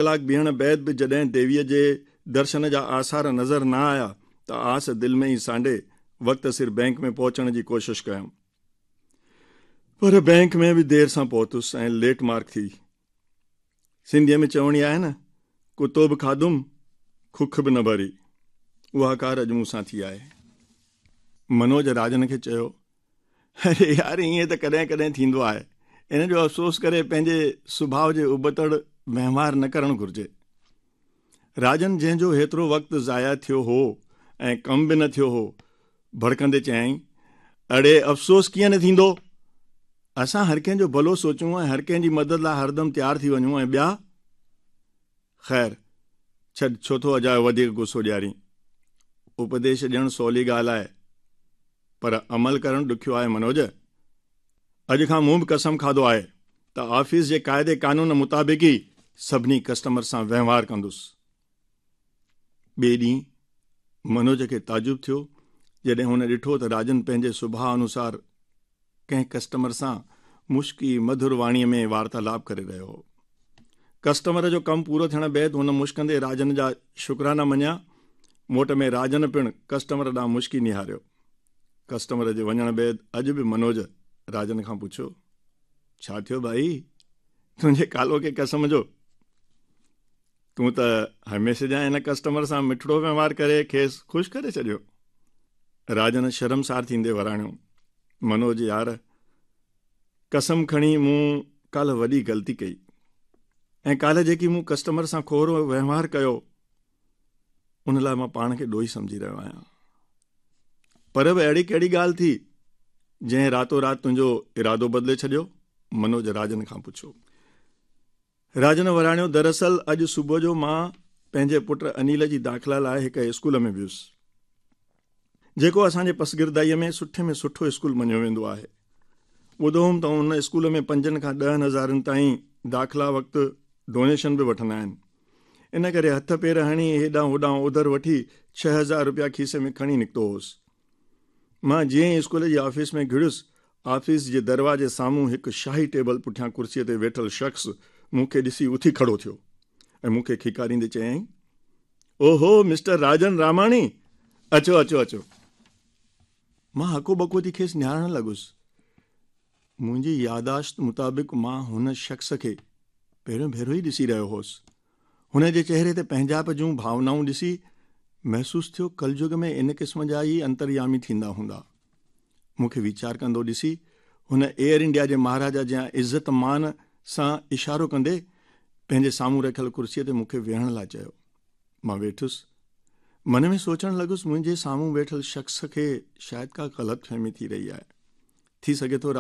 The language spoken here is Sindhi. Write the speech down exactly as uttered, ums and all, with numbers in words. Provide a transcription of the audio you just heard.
ڪلاڪ بيهڻ بعد به جڏهن ديويء جي درشن جا آثار نظر نه آيا ته آس دل ۾ ئي سانڍي وقت سر بئنڪ ۾ پهچڻ جي ڪوشش ڪيم. پر بئنڪ ۾ به دير سان پهتس ۽ ليٽ مارڪ ٿي. سنڌيء ۾ چوڻي آهي نه، ڪتو به کاڌم، کک به نه ڀري. اها ڪار اڄ مون سان ٿي آهي. منوج راجن کي چيو، اري يار ائين ته ڪڏهن ڪڏهن ٿيندو آهي. ان جو افسوس ڪري پنهنجي سڀاء جي ابتڙ وهنوار نه ڪرڻ گهرجي. راجن جنهن جو هيترو وقت ضايع ٿيو هو ۽ ڪم به نه ٿيو هو، ڀڙڪندي چيائين، اڙي افسوس ڪيئن نه ٿيندو؟ اسان هر ڪنهن جو ڀلو سوچون ۽ هر ڪنهن جي مدد لاء هردم تيار ٿي وڃون ۽ ٻيا؟ خير ڇڏ، ڇو ٿو اجايو وڌيڪ غصو ڏيارين؟ اپديش ڏيڻ سولي ڳالهه آهي، پر عمل ڪرڻ ڏکيو آهي منوج. اڄ کان مون به قسم کاڌو آهي ته آفيس جي قاعدي قانون مطابق ئي سڀني ڪسٽمر سان وهنوار ڪندس. ٻئي ڏينهن منوج کي تعجب ٿيو جڏهن هن ڏٺو ته راجن پنهنجي سڀاء انوسار ڪنهن ڪسٽمر سان مشڪي مڌر واڻيء ۾ وارتالاپ ڪري رهيو هو. ڪسٽمر جو ڪم پورو ٿيڻ بعد هن مشڪندي راجن جا شڪرانا مڃيا. موٽ ۾ راجن پڻ ڪسٽمر ڏانهن مشڪي نهاريو. ڪسٽمر جي وڃڻ بعد اڄ به منوج راجن کان پڇيو، ڇا ٿيو ڀائي، تنهنجي ڪالهوڪي قسم جو؟ تون ته هميشه جيان هن ڪسٽمر سان مٺڙو وهنوار ڪري کيس خوش ڪري ڇڏيو. راجن شرمسار ٿيندي وراڻيو، منوج يار، قسم کڻي مون ڪالهه وڏي غلطي ڪئي ۽ ڪالهه جيڪي مون ڪسٽمر سان کهرو وهنوار ڪيو ان لاء مان پاڻ کي ڏوهي سمجهي رهيو آهيان. پر به اهڙي ڪهڙي ڳالهه ٿي جنهن راتو رات تنهنجو ارادو بدلي ڇڏيو؟ منوج راجن کان پڇيو. راجن وراڻيو، دراصل اڄ صبح جو مان پنهنجي پٽ انيل جي داخلا لاء هڪ اسڪول ۾ ويس، جيڪو اسان جي پسگردائيء ۾ سٺي ۾ سٺو اسڪول مڃيو ويندو آهي. ٻڌو هوم ته ان اسڪول ۾ پنجن کان ڏهن هزارن تائين داخلا وقت ڊونيشن به وٺندا آهن. ان ڪري هٿ پير هڻي هيڏانهن هوڏانهن اوڌر وٺي ڇهه هزار رپيا کيسي ۾ کڻي نڪتو هوس. مان جيئن ئي اسڪول جي آفيس ۾ گهڙيس، آفيس جي دروازي سامهون هڪ شاهي ٽيبل پٺيان ڪرسيء تي ويٺل شخص مون کي ڏسي اٿي کڙو ٿيو ۽ مون کي کيڪاريندي چيائين، اوهو مسٽر راجن راماڻي، اچو اچو اچو. مان هڪو ٻڪو ٿي کيس نهارڻ لڳس. منهنجي ياداشت مطابق مان هن شخص کي پهريون ڀيرو ئي ڏسي رهيو هوس. هن جي چهري تي پنهنجائپ جون ڀاونائون ڏسي محسوس ٿيو ڪلجگ ۾ ان قسم جا ئي انتريامي ٿيندا هوندا. مون کي ويچار ڪندو ڏسي هن ايئر انڊيا جي مهاراجا جيان عزت مان سان اشارو ڪندي پنهنجي سامهون رکيل ڪرسيء تي مون کي ويهڻ لاء چيو. مان ويٺس. من ۾ سوچڻ لڳس منهنجي سامهون ويٺل شخص کي شايد ڪا غلط فهمي ٿي رهي آهي. ٿي سگهي ٿو